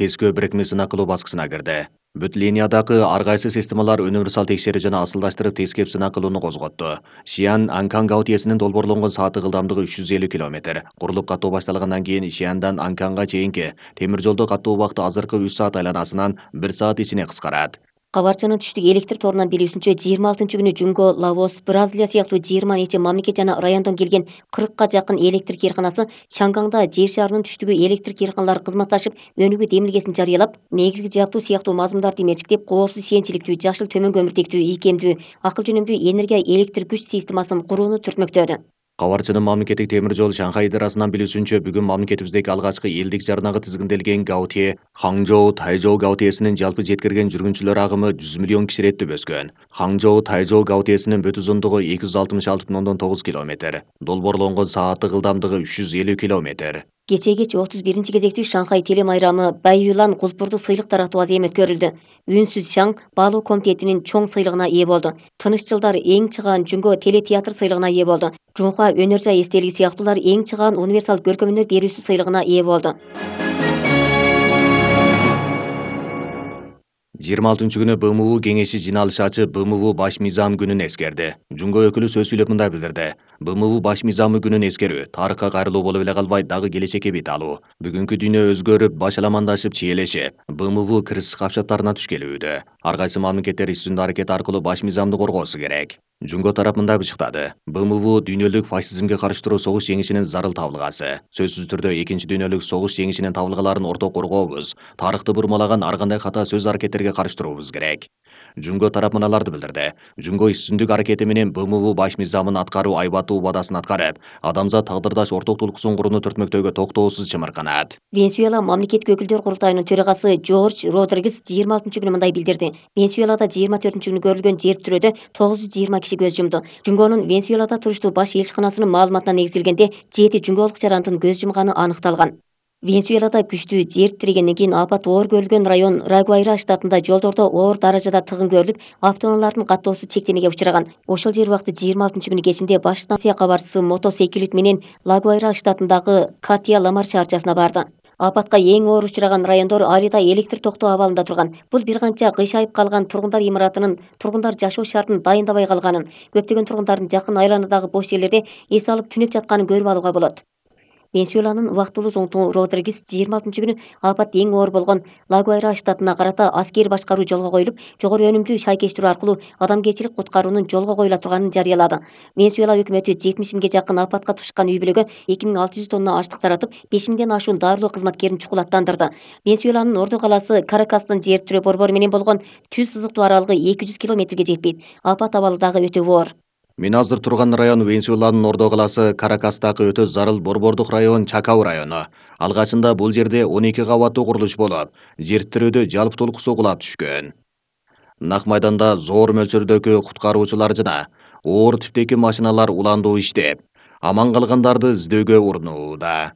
тескөө бирикме сынак кылуу баскычына кирди. Бүт линиядагы ар кайсы системалар универсал текшерүү жана асылдаштырып тескеп сынак кылууну козготту. Шиан Анкан гаутиесинин долбоорлонгон сааттык ылдамдыгы 350 км. Курулуп каттоо башталгандан кийин Шиандан Анканга чейинки темир жолдо каттоо убакыты азыркы 3 саат айланасынан 1 саат ичине кыскарат. Кабарчанын түштүк электр торунан билүүсүнчө 26-күнү Жунго, Лаос, Бразилия сыяктуу 20 нече мамлекет жана райондон келген 40ка жакын электр кыйрканасы Шангаңда жер шарынын түштүгү электр кыйрканалары кызматташып, өнүгүү демилгесин жарыялап, негизги жаптуу сыяктуу мазмундарды менчиктеп, коопсуз ишенчиликтүү, жашыл төмөн көмүртектүү, ийкемдүү, акыл жөнүмдүү энергия электр күч системасын курууну түртмөктөдү. Кабарчынын мамлекеттик темир жол Шанхай идарасынан билүүсүнчө, бүгүн мамлекетибиздеги алгачкы элдик жарнага тизгинделген Гаутие, Хаңжоу, Тайжоу Гаутиесинин жалпы жеткирген жүргүнчүлөр агымы 100 миллион киши иреттеп өскөн. Хаңжоу, Тайжоу Гаутиесинин бүт узундугу 266,9 км, долбоорлонгон сааттык ылдамдыгы 350 км. Кечеге 31 кезектүү Шанхай телемайрамы Байюлан кулпурдук сыйлык таратуу азем өткөрүлдү. Үнсүз Шаң баалоо комитетинин чоң сыйлыгына ээ болду. Тыныч жылдар эң чыгаан Жунго телетеатр сыйлыгына ээ болду. Жунхуа өнөр жай эстелиги сыяктуулар эң чыгаан универсал көркөмөнөр берүүсү сыйлыгына ээ болду. 26-күнү БМУ кеңеши жиналышы ачып, БМУ баш мыйзам күнүн эскерди. Жунго өкүлү сөз сүйлөп мындай билдирди. БМУ баш мыйзамы күнүн эскерүү тарыхка кайрылуу болуп эле калбай, дагы келечекке бет алуу. Бүгүнкү дүйнө өзгөрүп, башаламандашып, чиелешип, БМУ кырсык капчаттарына туш келүүдө. Ар кайсы мамлекеттер үстүндө аракет аркылуу баш мыйзамды коргоосу керек. Жунго тарап мындай бычыктады. БМУ дүйнөлүк фашизмге каршы туруу согуш жеңишинин зарыл табылгасы. Сөзсүз түрдө экинчи дүйнөлүк согуш жеңишинин табылгаларын орток коргообуз, тарыхты бурмалаган ар кандай ката сөз аракеттерге каршы туруубуз керек. Жунго тарап мыналарды билдирди. Жунго үстүндүк аракети менен БМУ баш мыйзамын аткаруу айбаттуу убадасын аткарып, адамзат тагдырдаш орток тулкуусун курууну түртмөктөөгө токтоосуз чымырканат. Венесуэла мамлекеттик өкүлдөр курултайынын төрагасы Жорж Родригес 26-күнү мындай билдирди. Венесуэлада 24-күнү көрүлгөн жер тирөөдө 920 киши көз жумду. Жунгонун Венесуэлада туруштуу баш элчиканасынын маалыматына негизделгенде 7 жунгоолук жарандын көз жумганы аныкталган. Венесуэлада күчтүү жер тирегенден кийин апат оор көрүлгөн район Рагуайра штатында жолдордо оор даражада тыгын көрүлүп, автоунаалардын каттоосу чектемеге учураган. Ошол жер убакыты 26-күнү кечинде баш станция кабарчысы мотоциклет менен Лагуайра штатындагы Катия-Ламар шаарчасына барды. Апатка эң оор учураган райондор ар да электр токтоо абалында турган. Бул бир канча кыйшайып калган тургундар имаратынын тургундар жашоо шартын дайындабай калганын, көптөгөн тургундардын жакын айланадагы бош жерлерде эс алып түнөп жатканын көрүп алууга болот. Венесуэланын убактылуу зоңтугу Родригес 26-күнү апат эң оор болгон Лагуайра штатына карата аскер башкаруу жолго коюлуп, жогору өнүмдүү шайкештирүү аркылуу адамгерчилик куткаруунун жолго коюла турганын жарыялады. Венесуэла өкмөтү 70 миңге жакын апатка тушкан үй бүлөгө 2600 тонна аштык таратып, 5 миңден ашуун дарылоо кызматкерин чукулаттандырды. Венесуэланын орду калаасы Каракастын жер тирөө борбору менен болгон түз сызыктуу аралыгы 200 километрге жетпейт. Апат абалы дагы өтө оор. Мен азыр турган район Венесуэланын ордо калаасы Каракастагы өтө зарыл борбордук район Чакау району. Алгачында бул жерде 12 кабаттуу курулуш болуп, жер тирөөдө жалпы толкусу кулап түшкөн. Нак майданда зор мөлчөрдөгү куткаруучулар жана оор типтеги машиналар уландуу иштеп, аман калгандарды издөөгө урунууда.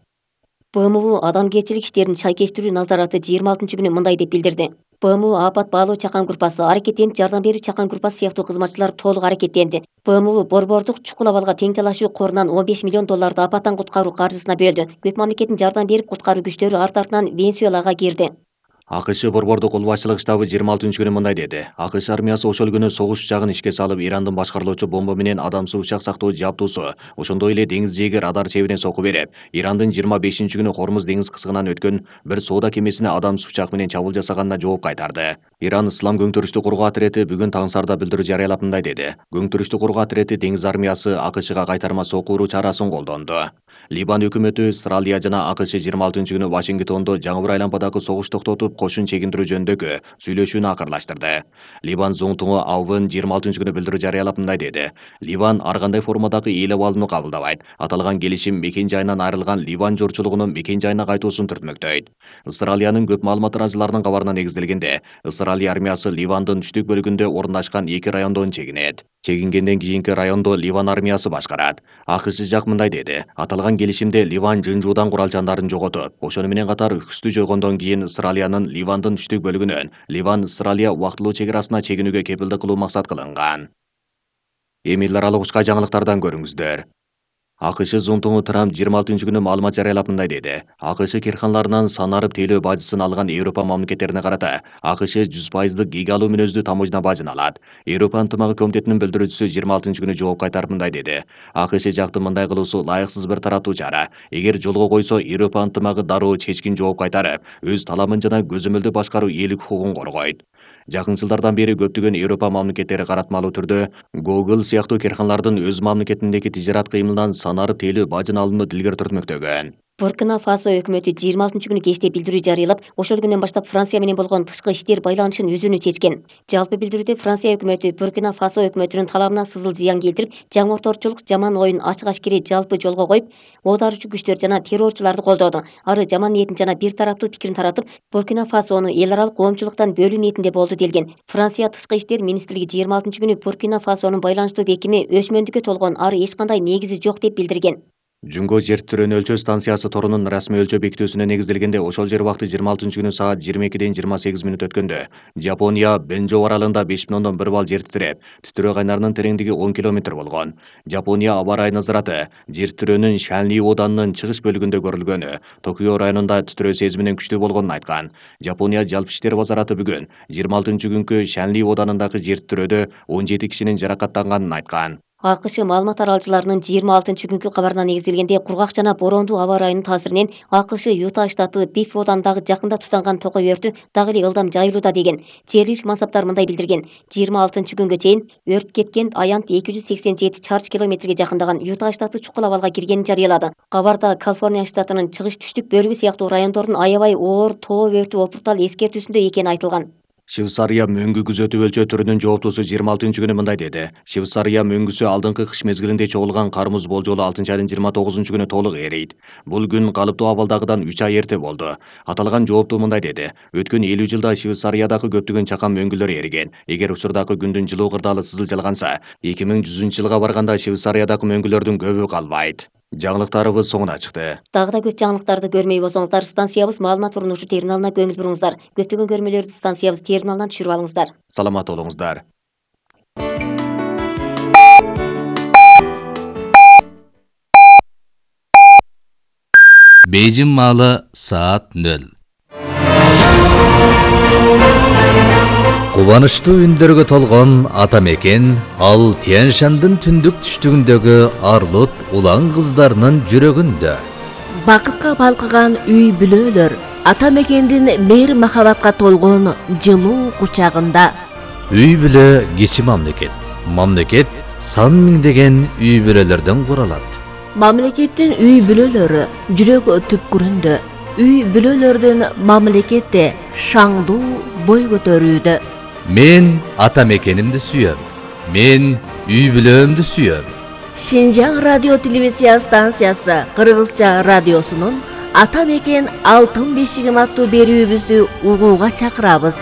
БМУ адамгерчилик иштерин шайкештирүү назараты 26-күнү мындай деп билдирди. БМУ апат баалоо чакан группасы, аракеттенип жардам берүү чакан группасы сыяктуу кызматчылар толук аракеттенди. БМУ борбордук чукул абалга тең талашуу корунан $15 миллион апаттан куткаруу каржысына бөлдү. Көп мамлекеттин жардам берип куткаруу күчтөрү арт артынан Венесуэлага кирди. АКШ борбордук кол башчылык штабы 26-күнү мындай деди. АКШ армиясы ошол күнү согуш учагын ишке салып, Ирандын башкарылуучу бомба менен адамсыз учак сактоо жабдуусу, ошондой эле деңиз жээги радар чебине соку берип, Ирандын 25-күнү Хормуз деңиз кысыгынан өткөн бир соода кемесине адамсыз учак менен чабуул жасаганына жооп кайтарды. Иран Ислам көңтүрүштү кургоо атирети бүгүн таңсарда билдирүү жарыялап мындай деди. Көңтүрүштү кургоо атирети деңиз армиясы АКШга кайтарма сокку уруу чарасын колдонду. Либан өкмөтү Австралия жана АКШ 26-күнү Вашингтондо жаңы бир айланпадагы согуш токтотуп, кошун чегиндирүү жөнүндөгү сүйлөшүүнү акырлаштырды. Ливан зоңтугу Авын 26-күнү билдирүү жарыялап мындай деди. Ливан ар кандай формадагы эл абалыны кабылдабайт. Аталган келишим мекен жайынан айрылган Ливан журчулугунун мекен жайына кайтуусун түртмөктөйт. Австралиянын көп маалымат тараачыларынын кабарына негизделгенде, Австралия армиясы Ливандын түштүк бөлүгүндө орундашкан 2 райондон чегинет. Чегингенден кийинки райондо Ливан армиясы башкарат. АКШ жак мындай деди. Аталган келишимде Ливан жын-жуудан куралчандарын жоготуп, ошону менен катар үкүстү жойгондон кийин Австралиянын Ливандын түштүк бөлүгүнөн Ливан-Австралия убактылуу чек арасына чегинүүгө кепилдик кылуу максат кылынган. Эми эл аралык учка жаңылыктардан көрүңүздөр. АКШ зонтугу Трамп 26-күнү маалымат жарыялап мындай деди. АКШ кирканаларынан санарып тейлөө бажысын алган Европа мамлекеттерине карата АКШ 100% гигалуу мүнөздүү таможня бажын алат. Европа ынтымагы комитетинин билдирүүчүсү 26-күнү жооп кайтарып мындай деди. АКШ жакты мындай кылуусу ылайыксыз бир тараптуу чара. Эгер жолго койсо, Европа ынтымагы дароо чечкин жооп кайтарып, өз таламын жана көзөмөлдүү башкаруу ээлик укугун коргойт. Жакын жылдардан бери көптөгөн Европа мамлекеттери каратмалуу түрдө Google сыяктуу кирканалардын өз мамлекетиндеги тижарат кыймылынан санарып тейлөө бажын алууну дилгер түртмөктөгөн. Буркина Фасо өкмөтү 26-күнү кечте билдирүү жарыялап, ошол күндөн баштап Франция менен болгон тышкы иштер байланышын үзүүнү чечкен. Жалпы билдирүүдө Франция өкмөтү Буркина Фасо өкмөтүнүн талабына сызыл зыян келтирип, жаңыртоочулук жаман оюн ачык-ачкири жалпы жолго коюп, оодарчу күчтөр жана террорчуларды колдоду. Ары жаман ниетин жана бир тараптуу пикирин таратып, Буркина Фасону эл аралык коомчулуктан бөлүү ниетинде болду делген. Франция тышкы иштер министрлиги 26-күнү Буркина Фасонун байланыштуу бекими өчмөндүккө толгон, ары эч кандай негизи жок деп билдирген. Жүнгө жер титирөөнү өлчөө станциясы торунун расмий өлчөө бекитүүсүнө негизделгенде ошол жер убакыты 26-күнү саат 22:28 өткөндө Жапония Бенжо аралында 5,1 балл жер титиреп, титирөө кайнарынын тереңдиги 10 км болгон. Жапония аба ырайы назараты жер титирөөнүн Шанли оданынын чыгыш бөлүгүндө көрүлгөнү, Токио районунда титирөө сезиминен күчтүү болгонун айткан. Жапония жалпы иштер базараты бүгүн 26-күнкү Шанли оданындагы жер титирөөдө 17 кишинин жаракаттанганын айткан. АКШ маалымат аралчыларынын 26-күнкү кабарына негизделгенде кургак жана бороондуу аба ырайынын таасиринен АКШ Юта штаты Биф оданындагы жакында тутанган токой өртү дагы эле ылдам жайылууда деген. Жергиликтүү мансаптар мындай билдирген. 26-күнгө чейин өрт кеткен аянт 287 чарчы километрге жакындаган Юта штаты чукул абалга киргенин жарыялады. Кабарда Калифорния штатынын чыгыш түштүк бөлүгү сыяктуу райондордун аябай оор тоо өртү опуртал эскертүүсүндө экени айтылган. Швейцария мөңгү күзөтүү өлчөө түрүнүн жооптуусу 26-күнү мындай деди. Швейцария мөңгүсү алдыңкы кыш мезгилинде чогулган кар муз болжолу 6-айдын 29-күнү толук эрийт. Бул күн калыптуу абалдагыдан 3 ай эрте болду. Аталган жооптуу мындай деди. Өткөн 50 жылда Швейцариядагы көптөгөн чакан мөңгүлөр эриген. Эгер учурдагы күндүн жылуу кырдаалы сызылчалганса, 2100-жылга барганда Швейцариядагы мөңгүлөрдүн көбү калбайт. Жаңылыктарыбыз соңуна чыкты. Дагы да көп жаңылыктарды көрмөй болсоңуздар, станциябыз маалымат урунуучу терминалына көңүл буруңуздар. Көптөгөн көрмөлөрдү станциябыз терминалынан түшүрүп алыңыздар. Саламат болуңуздар. Бейжин маалы саат 0. Кубанычтуу үндөргө толгон ата мекен ал Тянь-Шандын түндүк түштүгүндөгү Арлут улан кыздарынын жүрөгүндө. Бакытка балкыган үй бүлөлөр ата мекендин мейир махабатка толгон жылуу кучагында. Үй бүлө кичи мамлекет. Мамлекет сан миңдеген үй бүлөлөрдөн куралат. Мамлекеттин үй бүлөлөрү жүрөк түпкүрүндө. Үй бүлөлөрдүн мамлекетте шаңдуу бой көтөрүүдө. Мен ата мекенимди сүйөм. Мен үй бүлөмдү сүйөм. Шинжаң радио телевизия станциясы Кыргызча радиосунун Ата мекен алтын бешигим аттуу берүүбүздү угууга чакырабыз.